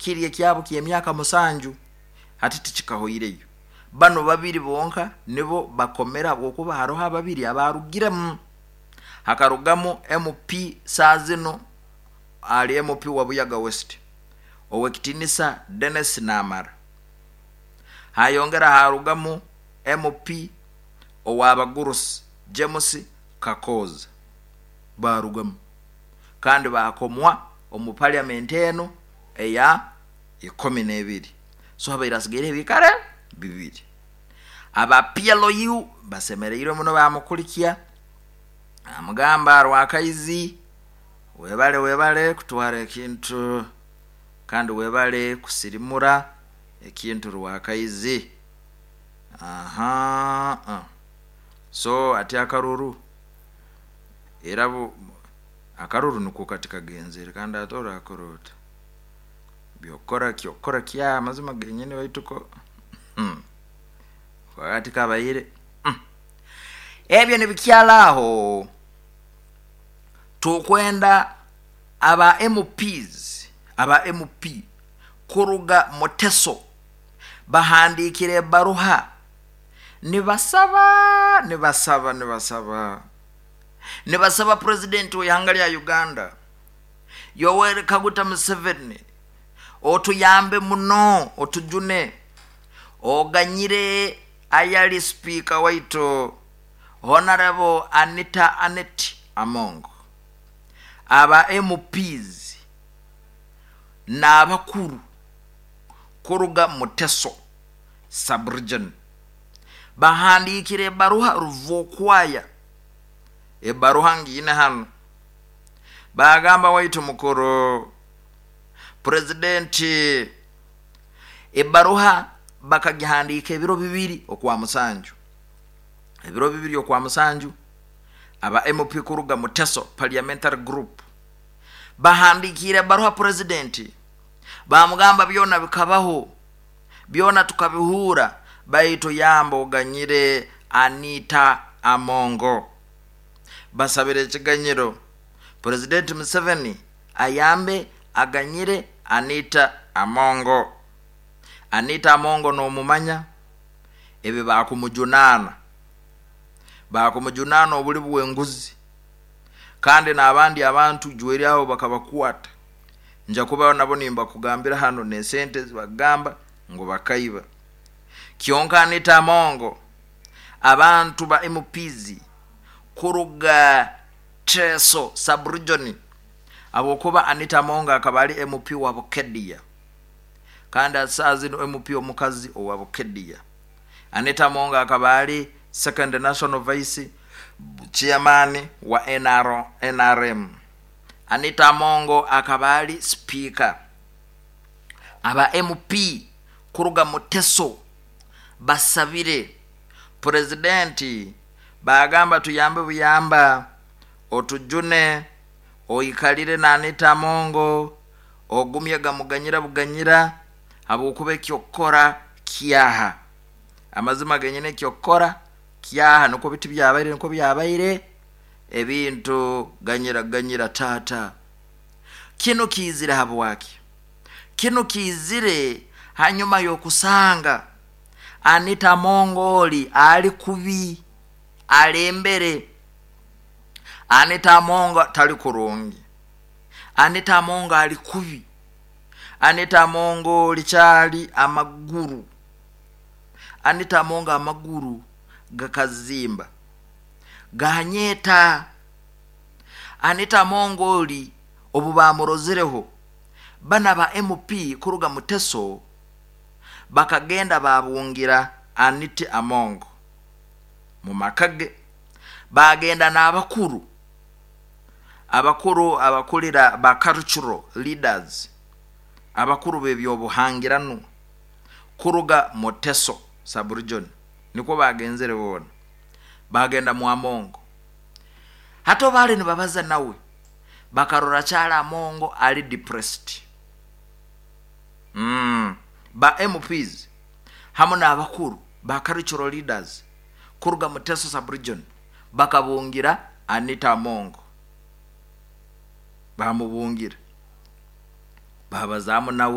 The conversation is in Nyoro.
Kiri ekyabo ky'emyaka 7, hati tikikahoireyo. Bano babiri bonka nibo bakomera, habwokuba haroho ababiri abarugiremu. Hakarugamu MP saazino ali MP wa Buyaga West, Owekitinisa Denis Namara. Hayongera harugamu MP ow'abagurusi James Kakooza. Barugamu kandi bakomwa omu parliament eno eya 12. So habaire hasigaire ebikare 2. Aba PLU basemereirwe muno, bamukulikya, amugamba, "Rwakaizi, webale, webale kutwara ekintu, kandi webale kusirimura ekintu, Rwakaizi." Aha, so ati akaruru era akaruru niko kati kagenzere, kandi ate orakora ota byokukora kyokukora kya amazima genyini, baituko ati kabaire ebyo nibikyala aho. Tukwenda aba MPs, aba MP kuruga Muteso bahandikire ebaruha nibasaba, nibasaba, nibasaba, nibasaba Purezidenti w'ihanga lya Uganda Yoweri Kaguta Museveni, otuyambe muno, otujune, oganyire ayali sipiika waitu Honorable Anita Anet Among. Aba MPs n'abakuru kuruga Muteso subregion bahandikire ebaruha ruvokwaya. Ebaruha ngiine hano. Bagamba, "Waitu mukuru Purezidenti." Ebaruha bakagihandika ebiro 2 okwa 7, ebiro 2 okwa 7. Aba MP kuruga Muteso parliamentary group bahandikire ebaruha Purezidenti, bamugamba, "Byona bikabaho, byona tukabihuura, baitu yamba oganyire Anita Amongo." Basabire ekiganyiro, Purezidenti Museveni ayambe aganyire Anita Amongo. Anita Amongo n'omumanya, ebi bakumujunaana, bakumujunaana obuli bw'enguzi, kandi n'abandi abantu jweri abo bakabakwata. Nja kuba nabo nimbakugambira hano n'esente zibagamba ngu bakaiba. Kyonka Anita Amongo, abantu ba MPs kuruga Teso subregion, habwokuba Anita Amongo akaba ali MP wa Bukedia, kandi asaa zino MP omukazi owa Bukedia. Anita Amongo akaba ali second national vice chairman wa NRM. Anita Amongo akaba ali speaker. Aba MP kuruga Muteso basabire Purezidenti, bagamba, "Tuyambe buyamba, otujune, oikalire na Anita Amongo, ogumye gamuganyira buganyira, habwokuba ekyokukora kyaha." Amazima genyine, ekyokukora kyaha, nikwo biti byabaire, nikwo byabaire ebintu. Ganyira, ganyira taata. Kinu kiizire habwaki? Kinu kiizire hanyuma y'okusanga Anita Mongoli ali kubi, alembere. Anita Amongo tali kurungi, Anita Amongo ali kubi. Anita Amongo likyali amaguru, Anita Amongo amaguru gakazimba, ganyeta. Anita Amongo oli obu bamurozereho, bana ba MP kuruga Muteso bakagenda babungira Anita Amongo mu maka ge. Bagenda n'abakuru, abakuru abakulira ba cultural leaders, abakuru b'ebyobuhangirano kuruga Muteso subregion, nikwo bagenzere boona. Bagenda mu Amongo. Hato baali nibabaza nawe, bakarora kyali Amongo ali depressed. Ba MPs hamu n'abakuru ba cultural leaders kuruga Muteso subregion bakabungira Anita Amongo, bamubungira, babazaamu nawe.